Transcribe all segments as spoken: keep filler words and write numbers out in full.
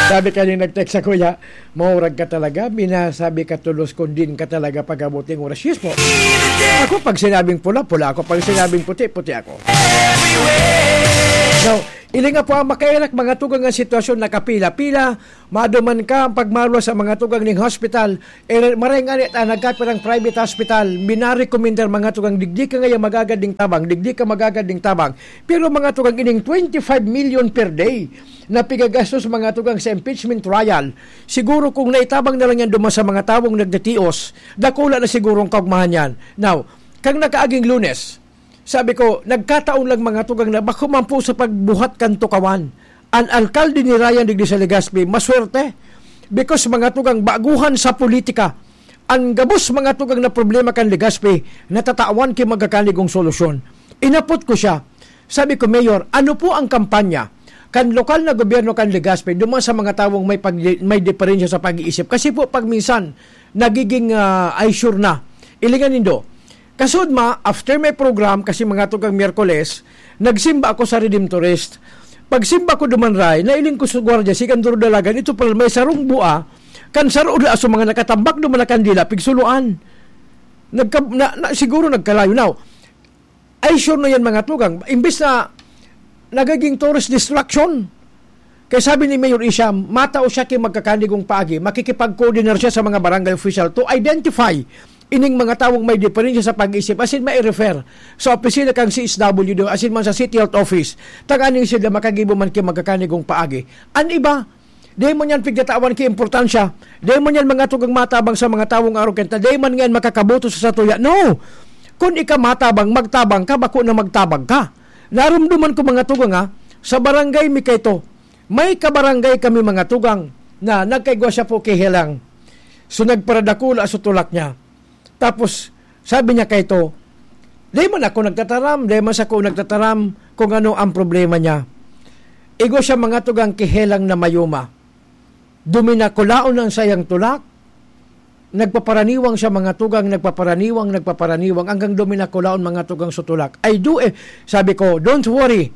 Sabi kaning nag-text sa kuya, "Maurag ka talaga, binasabi ka tulos kundin ka talaga pag-abuting oras." Yes po. Ako, pag sinabing pula, pula ako. Pag sinabing puti, puti ako. Now, ilinga po ang makairak, mga tugang ang sitwasyon, nakapila-pila, maduman ka ang pagmaluwas sa mga tugang ning hospital, eh, maray nga ni ta, nagkapirang private hospital, minarekomendar mga tugang, digdi ka ngaya magagad ning tabang, digdi ka magagad ning tabang. Pero mga tugang ining twenty-five million per day, na pigagastos mga tugang sa impeachment trial, siguro kung naitabang na lang yan duman sa mga tawong nagtitios, dakula na siguro ang kaugmahan yan. Now, kang nakaaging Lunes, sabi ko, nagkataon lang mga tugang na bako man po sa pagbuhat kan tukawan. An alkalde ni Ryan digdi sa Legazpi, maswerte. Because mga tugang baguhan sa politika, an gabos mga tugang na problema kan Legazpi, natatawan ki magkakanigong solusyon. Inapot ko siya. Sabi ko, "Mayor, ano po ang kampanya kan lokal na gobyerno kan Legazpi duman sa mga tawong may pag-, may diferensya sa pag-iisip?" Kasi po, pag minsan, nagiging, ah, ay sure na. Ilingan nindo. Kasud ma, after may program, kasi mga tugang Miyerkules, nagsimba ako sa Redemptorist. Pagsimba ko duman, Ray, nailing ko sa gwardiya, si Kanduro Dalagan, ito pala may sarong bua, kan saro da sa mga nakatambak duman na kandila, pigsuluan. Nagka-, na, na, siguro nagkalayo. Now, ay sure na yan, mga tugang. Imbis na nagiging tourist distraction, kaya sabi ni Mayor Isham, matao siya ki magkakanigong paagi, makikipag-coordinar siya sa mga barangay official to identify ining mga tawong may diferensya sa pag-isip, asin mai-refer sa opisina kang C S W D, asin man sa City Health Office, tanganing sila makagibo man ki magkakanigong paagi. An iba, di man yan pigtatawan ki importansya, di man yan mga tugang matabang sa mga tawong arogante, di man ngayon makakaboto sa satuya. No! Kun ika matabang, magtabang ka, bako na magtabang ka. Narumduman ko mga tugang, ha, sa barangay mi kaito, may kabarangay kami mga tugang na nagkaigwa siya po ki Helang. So, nagparadakula sa tulak niya. Tapos, sabi niya kaito, "Di man ako nagtataram, di man sako nagtataram kung ano ang problema niya." Igwa siya mga tugang ki Helang na mayuma. Duminakulaon ang sayang tulak. Nagpaparaniwang siya mga tugang, nagpaparaniwang, nagpaparaniwang, hanggang duminakulaon mga tugang sa tulak. "Ay, do eh," sabi ko, "don't worry.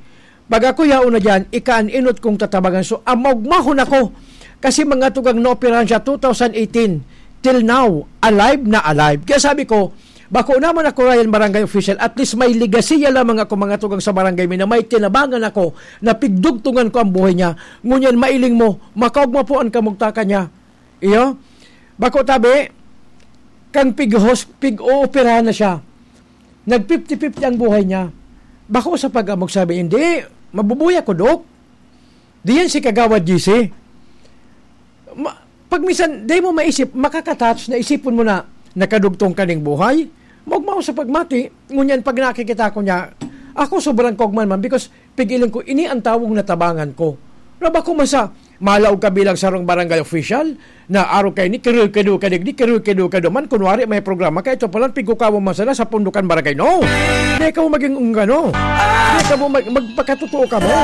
Pag ako yaon na diyan, ika an enot kong tatabangan." So, amogmahon ako. Kasi mga tugang, naoperahan siya two thousand eighteen. Till now, alive na alive. Kaya sabi ko, "Bako naman ako, Ryan, barangay official. At least may legasiya lamang ako, mga tugang, sa barangay mi na may tinabangan ako, na pigdugtungan ko ang buhay niya. Ngunyan, mailing mo, makaogma po an kamugtakan niya." Iyo? Bako tabi, kang pig-hos-, pig-ooperahan na siya. Nag fifty fifty ang buhay niya. Bako sa pag-amog sabi, "Hindi, mabubuhay ako, Dok." Diyan si Kagawad G C. Ma-, pag minsan, di mo maisip, makakatouch na isipon mo na, nakadugtong ka ning buhay, maogma sa pagmati, ngunyan pag nakikita ko niya, ako sobrang kogman man because pigilan ko, ini ang tawong natabangan ko. Na ba ko man sa malaog ka bilang sarong barangay official, na araw kayo ni, kiruy-kido ka digdi, kiruy-kido ka duman, kunwari may programa ka, ito palang pigkukawa man sana sa pundukan barangay. No! Di ka mo maging ungano. Di ka mo mag-, magpakatotoo ka mo.